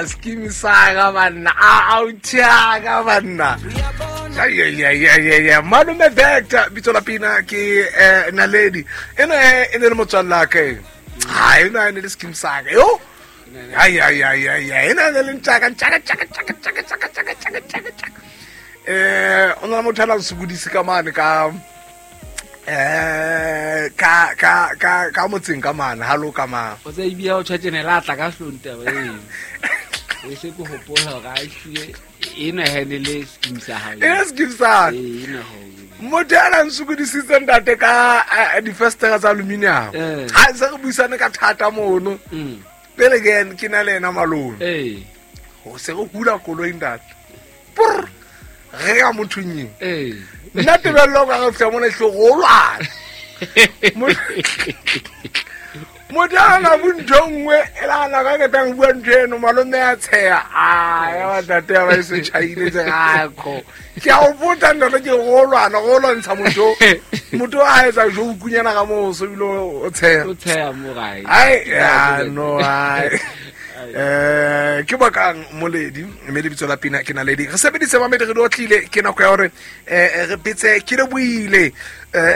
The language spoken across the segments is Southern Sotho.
Scheme saga banna, a uthiaka banna. Ya malome Vector, bitso la pina ke Naledi. Eno e ne le motswalla ka e. Ha eno e ne le scheme saga. Yo. Ai ai ai ai ai, ena ne le ntšaka ntšaka tšaka tšaka tšaka tšaka tšaka tšaka tšaka tšaka. O na motho a nang sokodise ka mane ka eh ka ka ka ka motseng ka mane ha lo ka mane. O tsa ibia o tjhatjene la tla ka hlong taba e. E se ke hopola hore a ehlile ena he ne le scheme sa hao. E scheme sa. Ee, ena ho. Motho ya nang sokodisitse ntate ka difestere tsa aluminium. Ha se re buisane ka thata mono. Pele ke ke na le ena malome. Ho se re hula koloi ntate. Purr. Re ya mothong eng. Nna tebello ka re fihla mona hle go lwana. Motho a na bo ntho e nngwe e la na ka ketang bua ntho eno malome a tsheya a ya ba tate ya ba e se tjhaile tse gakho ke a o botsa ntate ke go lwana go lwantsha motho motho a etsa jo ukunyana ka moso ebile o tsheya O tsheya mo gae. Ai ya no ai ke bakang moledi mme lebitso la pina ke naledi re sebedise mamedi re di otlile ke nako ya gore re betse ke le buile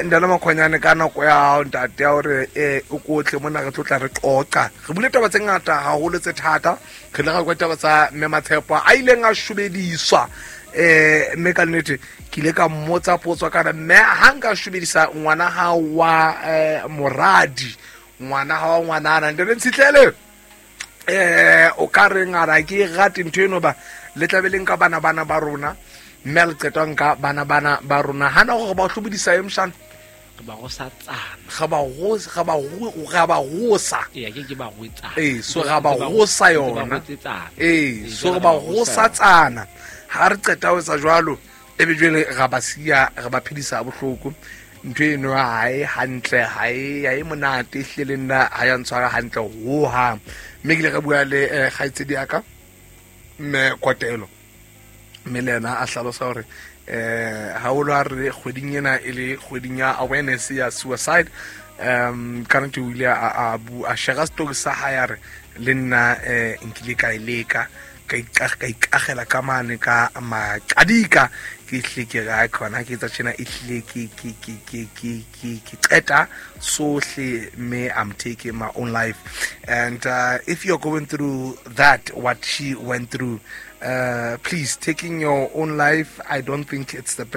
ndana makhwanyane ka nako ya ntate ya gore o kotle mona re tlotla re qoqa re bule taba tse ngata haholo tse thata re ile ra kwa taba tsa mme Matshepo a ileng a shobediswa mme ka nnete ke ile ka mmotsa potso kana mme ha nka shobedisa ngwana ha wa moradi ngwana ha wa ngwanana ntate Ntshitlele o ka reng a ra ke rate ntho eno ba le tlabe le nka bana bana ba rona mme a le qetwa nka bana bana ba rona hana gore ba hlobodisa e mshana Re ba gosa tsana. Ga ba go ga ba go ga ba gosa. Ee, ke ke ba goetsana. Ee, so ga ba gosa yona. Ee, so re ba gosa tsana. Ha re qeta ho etsa jwalo e be jwale ga ba siya re ba phedisa bohloko ntho eno ha e hantle ha e ha e monate ehlile le nna ha ya ntshwara hantle hohang mme ke ile ka bua le kgaitsedi ya ka mme Kotelo mme le ena a hlalosa gore haholo ha re kgweding ena e le kgweding ya awareness ya suicide ka nnete o ile a share story sa hae a re le nna nkile ka e leka ka ikagela ka mane ka maqadika ke hlile ke re khona ke etsa tjena e hlile ke qeta sohle mme I'm taking my own life. And if you're going through that, what she went through, please, taking your own life, I don't think it's the best.